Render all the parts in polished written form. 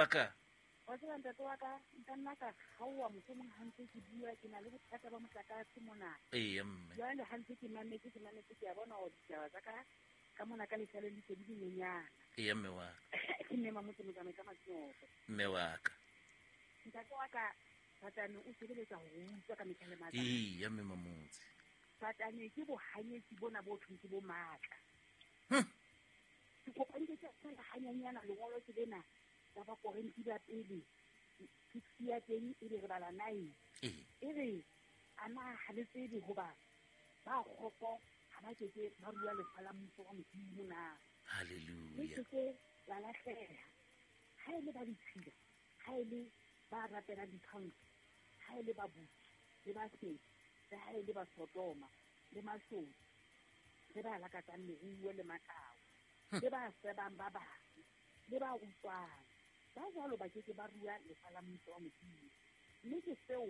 Ka. Wa tseba ntate wa ka, nka nna ka kgaowa mohlomong ha ntse ke bua, ke na le bothata ba motlakase mona. Eya mme. Jwale ha ntse ke mametse, ke mametse, ke a bona hore ditaba tsa ka ka mona ka lesaleng di se di le nyenyana. Eya mme wa ka. Ke mme Mamotse Motsamai ka Matsoho. Mme wa ka. Ntate wa ka, Satane o sebeletsa ho re utswa ka mehla le matsatsi. Eya mme Mamotse. Satane ke bohanyetsi bona bo thweng ke bo matla. Ke kopa nke ke feela hanyenyana lengolo ke lena la Bakorinthe ba pele 6 ya teng e be re bala 9. E re a na ha le tsebe hoba ba kgopo ha ba ke ke ba rua lefa la mmuso wa Modimo na? Hallelujah. Le se ke la lahleha. Ha e le ba ditshila, ha e le ba rapelang ditshwantsho, ha e le babusi le basebi, le ha e le basodoma le mashodu, le ba lakatsang leruo le matao, le ba sebang ba bang, le ba utswang, ba jwalo ba ke ke ba rua lefa la mmuso wa Modimo. Mme ke seo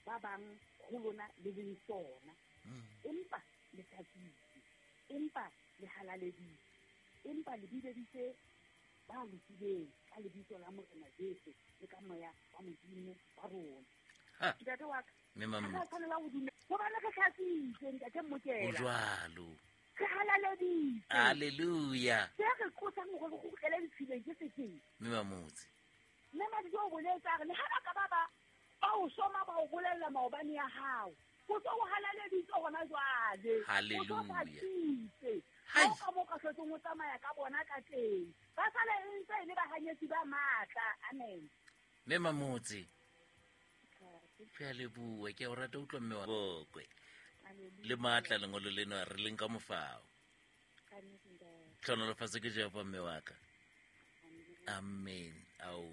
ba bang ho lona le leng sona. Empa le hlatswitswe, empa le halaleditswe, empa le bileditswe ba lokileng ka lebitso la Morena Jesu le ka moya wa Modimo wa rona. Ntate wa ka, Mme ha re a tshwanela ho dumela hobane re hlatswitswe, Ntate Mmokela. Ho jwalo. Re halaleditswe. Hallelujah. Se re qosang hore re kgutlele ditshileng ke sefeng? Mme Mamotse. Mme Madidi o boletse a re le ha ba ka ba ba ba o soma ba o bolella maobane ya hao, o so o halaleditswe hona jwale. O so Hallelujah. hlatswitswe. Hai. Ha o ka mo ka hlotseng o tsamaya ka bona ka teng. Ba sale e ntse e le bahanyetsi ba matla. Amen. Mme Mamotse. Ke a leboha, ke a o rata utlwa mme wa bokwe. Le matla lengolo lena re leng ka mofao. Tlhonolofatso ke Jehova mme wa ka. Amen. Ao.